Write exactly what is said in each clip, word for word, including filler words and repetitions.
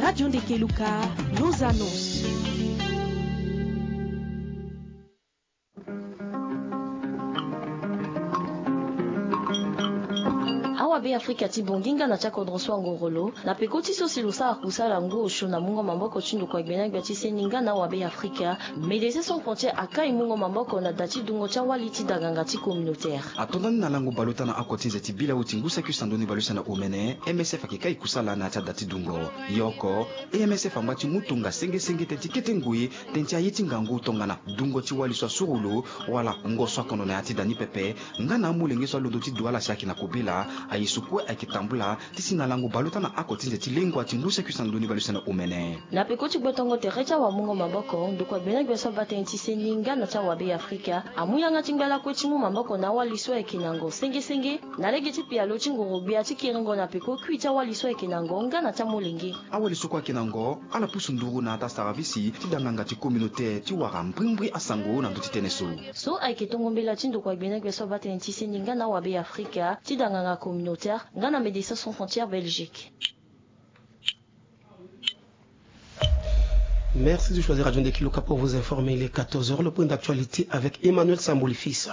Radio Ndekeluka, nos annonces. Awabe Afrika ti Bongi nga na ti akodro so angorolo na peko ti so si lo sara kusala ngu osio na mungo maboko ti ndokua gbena gbia ti seni nga na awabe Afrika. Médecins Sans Frontières akai mungo maboko na da ti dungo ti awali ti daganga ti communautaire. Atonda ni na lango baleota na oko ti nze ti bila uti ngu saki usando ni baleuse na omene, M S F ayeke kai kusala na ya ti ada ti dungo. Ye oko, M S F angba ti mu tonga senge senge tënë ti kete ngoi tënë ti aye ti ngangu tongana dungo ti wali so asuru lo wala ngo so akondo na ya ti da ni pepe, nga na amolenge so alondo ti du ala si ayeke na kobela. Aye so kue ayeke tambula ti si na lango baleota na oko ti nze ti lengua ti ngu saki usando ni baleuse na omene. Na peko ti gbotongo tere ti awamungo maboko, ndokua gbena gbia so abaa tënë ti seni nga na ti awabe Afrika amu yanga ti ngba lakue ti mu maboko na awali so ayeke na ngo senge senge na lege ti pialo ti ngoro-gbia ti kiringo na peko kui ti awali so ayeke na ngo nga na ti amolenge. Awali so kue ayeke na ngo ala pusu nduru na ata saravisi ti danganga ti communautaire ti wara mbrimbri asango na ndö ti tënë so. So ayeke tongo mbela ti ndokua gbena gbia so abaa tënë ti seni nga na awabe Afrika ti danganga communautaire nga na Médecins Sans Frontières Belgique. Merci de choisir Radio Ndekiluka pour vous informer. Il est quatorze heures. Le point d'actualité avec Emmanuel Sambouli Fils.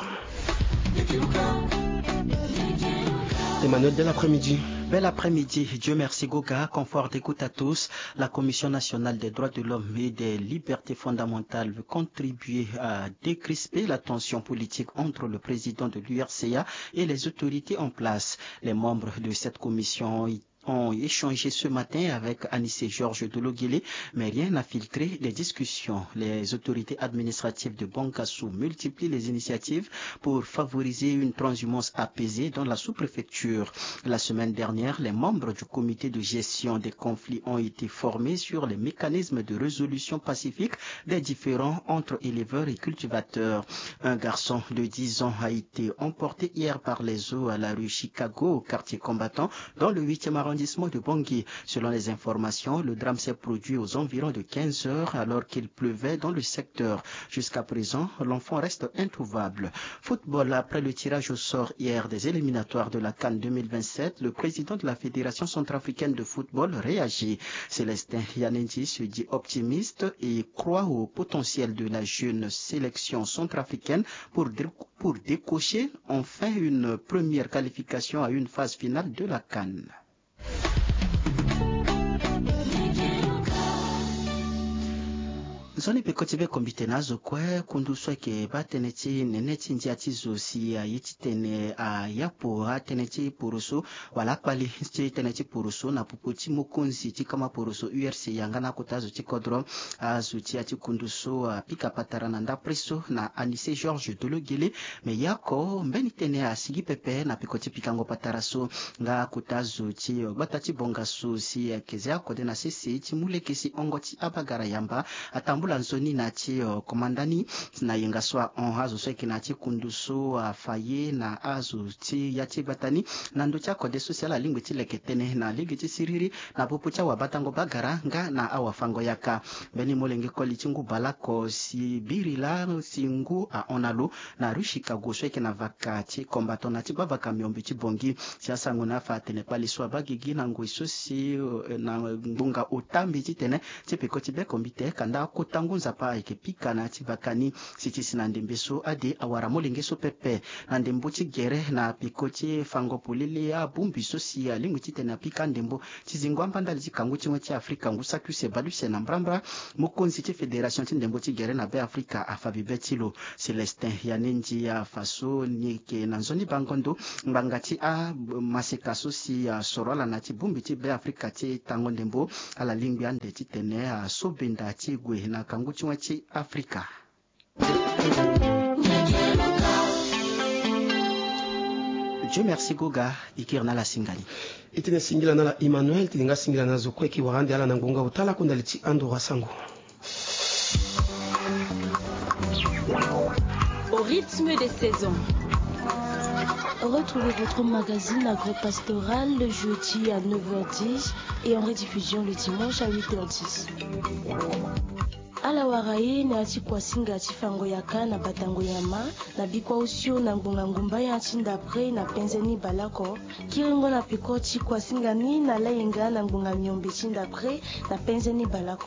Emmanuel, bel après-midi. Bel après-midi. Dieu merci, Goga. Confort d'écoute à tous. La Commission nationale des droits de l'homme et des libertés fondamentales veut contribuer à décrisper la tension politique entre le président de l'U R C A et les autorités en place. Les membres de cette commission ont ont échangé ce matin avec Anissé Georges Dologuélé, mais rien n'a filtré les discussions. Les autorités administratives de Bangassou multiplient les initiatives pour favoriser une transhumance apaisée dans la sous-préfecture. La semaine dernière, les membres du comité de gestion des conflits ont été formés sur les mécanismes de résolution pacifique des différends entre éleveurs et cultivateurs. Un garçon de dix ans a été emporté hier par les eaux à la rue Chicago, au quartier Combattant, dans le huitième arrondissement de Bangui. Selon les informations, le drame s'est produit aux environs de quinze heures alors qu'il pleuvait dans le secteur. Jusqu'à présent, l'enfant reste introuvable. Football, après le tirage au sort hier des éliminatoires de la CAN deux mille vingt-sept, le président de la Fédération centrafricaine de football réagit. Célestin Yanendi se dit optimiste et croit au potentiel de la jeune sélection centrafricaine pour, dé- pour décrocher enfin une première qualification à une phase finale de la CAN. Nzoni peko ti be kombite na azo kue kundu so ayeke baa tënë ti nene ti ndia ti zo si aye titene ayapo atënë ti poroso wala akpali ti tënë ti poroso na popo ti mokonzi ti kama poroso U R C yanga na akota azo ti kodro. Azo ti ya ti kundu so apika patara na ndapre so na Anissé Georges Dologuélé. Me ye oko mbeni tënë asigi pepe na peko ti pikango patara so nga akota zo ti gbata ti Bongassou si ayeke zia kode na sese ti mu lege si hongo ti abagara yamba atambula nzoni na ya ti komanda ni na yenga so ahon azo so ayeke na ya ti kundu so afa ye na azo ti ya ti gbata ni na ndö ti akode so si ala lingbi ti leke tënë na lege ti siriri na popo ti awabatango bagara nga na awafango yaka. Mbeni molenge koli ti ngu baleoko si biri laa si ngu ahon na lo na rue Chicago so ayeke na vaka ti Combattant na ti gbavaka miombe ti Bangui. Si asango na afa atene kpali so abaa gigi na ngoi so si eh, na ngbonga ota mbi titene ti peko ti be kombite kanda akota ngu nzapa ayeke pika na ya ti vaka ni. Si ti si na ndembe so ade awara molenge so pepe na ndembo ti gere na peko ti fango polele abongbi so si alingbi titene apika ndembo ti zingo amba ndali ti kangu ti wen ti Afrika ngu saki use baleuse na mbrambra. Mokonzi ti fédération ti ndembo ti gere na Be Afrika afa bibe ti lo. Célestin Yanendi afa so ni yeke na nzoni bango ndo ngbanga ti amaseka so si asoro ala na ya ti bongbi ti Be Afrika ti tango ndembo. Ala lingbi ande titene aso benda ti gue na kangu ti wen ti Afrika. Dieu merci Goga, e kiri na ala singani. E tene singila na ala Emmanuel, tene nga singila na zo kue e ke wara ande ala na ngbonga ota lakue ndali ti andoro asango. Au rythme des saisons. Retrouvez votre magazine agro-pastoral le jeudi à neuf heures dix et en rediffusion le dimanche à huit heures dix. Ala wara ye na ya ti kuasinga ti fango yaka na batango nyama na bikua osio na ngbonga ngumba ya ti ndapre na penze ni baleoko. Kiringo na peko ti kuasinga ni na layenga na ngbonga miombe ti ndapre na penze ni baleoko.